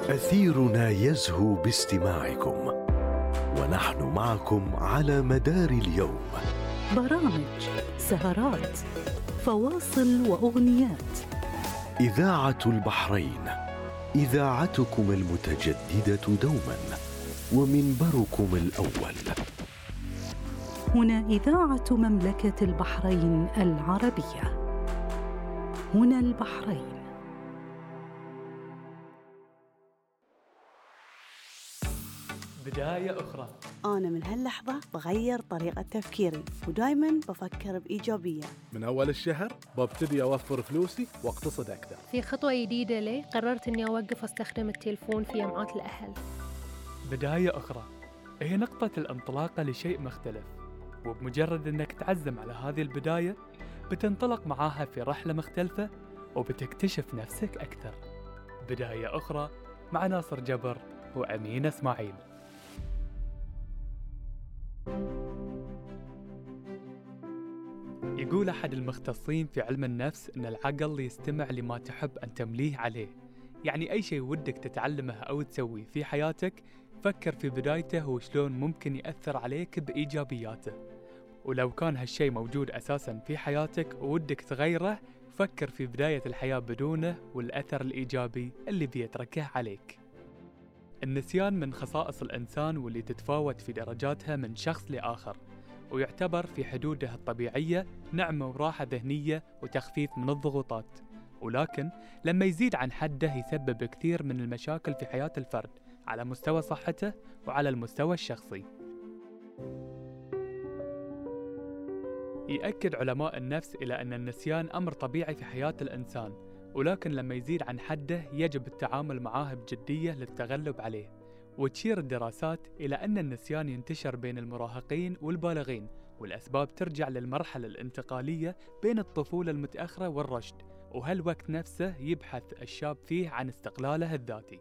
أثيرنا يزهو باستماعكم، ونحن معكم على مدار اليوم. برامج، سهرات، فواصل وأغنيات. إذاعة البحرين، إذاعتكم المتجددة دوما، ومنبركم الأول. هنا إذاعة مملكة البحرين العربية. هنا البحرين. بداية أخرى. أنا من هاللحظة بغير طريقة تفكيري، ودايماً بفكر بإيجابية. من أول الشهر ببتدي أوفر فلوسي واقتصد أكثر. في خطوة جديدة لي قررت أني أوقف أستخدم التلفون في جمعات الأهل. بداية أخرى هي نقطة الانطلاقة لشيء مختلف، وبمجرد أنك تعزم على هذه البداية بتنطلق معاها في رحلة مختلفة وبتكتشف نفسك أكثر. بداية أخرى مع ناصر جبر وأمين إسماعيل. يقول أحد المختصين في علم النفس أن العقل يستمع لما تحب أن تمليه عليه، يعني أي شيء ودك تتعلمه أو تسويه في حياتك فكر في بدايته وشلون ممكن يأثر عليك بإيجابياته، ولو كان هالشيء موجود أساساً في حياتك وودك تغيره فكر في بداية الحياة بدونه والأثر الإيجابي اللي بيتركه عليك. النسيان من خصائص الإنسان واللي تتفاوت في درجاتها من شخص لآخر، ويعتبر في حدوده الطبيعية نعمة وراحة ذهنية وتخفيف من الضغوطات، ولكن لما يزيد عن حده يسبب كثير من المشاكل في حياة الفرد على مستوى صحته وعلى المستوى الشخصي. يأكد علماء النفس إلى أن النسيان أمر طبيعي في حياة الإنسان، ولكن لما يزيد عن حده يجب التعامل معاه بجدية للتغلب عليه. وتشير الدراسات إلى أن النسيان ينتشر بين المراهقين والبالغين، والأسباب ترجع للمرحلة الانتقالية بين الطفولة المتأخرة والرشد، وهالوقت نفسه يبحث الشاب فيه عن استقلاله الذاتي.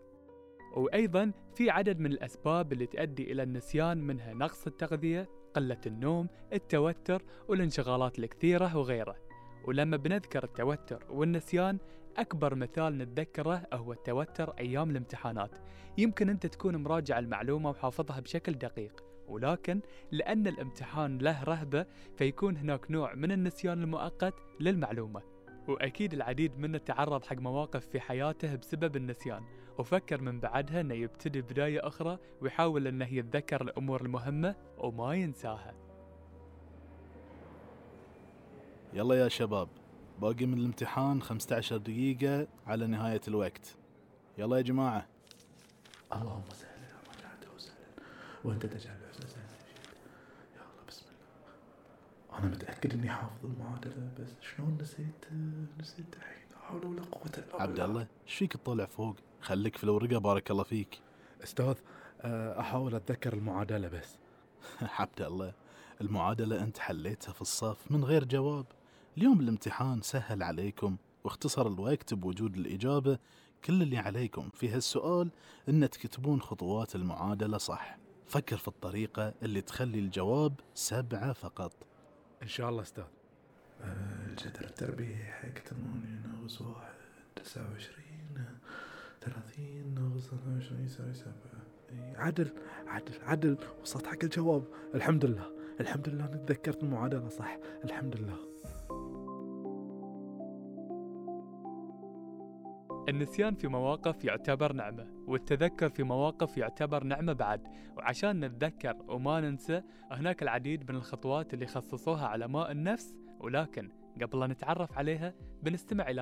وأيضاً في عدد من الأسباب اللي تؤدي إلى النسيان، منها نقص التغذية، قلة النوم، التوتر والانشغالات الكثيرة وغيره. ولما بنذكر التوتر والنسيان أكبر مثال نتذكره هو التوتر أيام الامتحانات. يمكن أنت تكون مراجع المعلومة وحافظها بشكل دقيق، ولكن لأن الامتحان له رهبة فيكون هناك نوع من النسيان المؤقت للمعلومة. وأكيد العديد منا تعرض حق مواقف في حياته بسبب النسيان، وفكر من بعدها أنه يبتدي بداية أخرى ويحاول أنه يتذكر الأمور المهمة وما ينساها. يلا يا شباب، باقي من الامتحان 15 دقيقة على نهاية الوقت. يلا يا جماعة. اللهم سهل ما جعلته سهلا وانت تجعل الحزن سهلا. يلا بسم الله. انا متأكد اني حافظ المعادلة، بس شلون نسيت الحين؟ لا حول ولا قوة الا بالله. عبد الله ايش فيك تطلع فوق؟ خليك في الورقة بارك الله فيك. استاذ احاول اتذكر المعادلة بس. عبد الله المعادلة انت حليتها في الصف من غير جواب. اليوم الامتحان سهل عليكم واختصر الوقت بوجود الإجابة. كل اللي عليكم في هالسؤال إن تكتبون خطوات المعادلة صح. فكر في الطريقة اللي تخلي الجواب 7 فقط. إن شاء الله أستاذ. الجذر التربيعي حق 8 ناقص 1 29 30 ناقص 22 يساوي 7. عدل وصلت حق الجواب. الحمد لله نتذكرت المعادلة صح. الحمد لله. النسيان في مواقف يعتبر نعمة، والتذكر في مواقف يعتبر نعمة بعد. وعشان نتذكر وما ننسى هناك العديد من الخطوات اللي خصصوها علماء النفس، ولكن قبل أن نتعرف عليها بنستمع إلى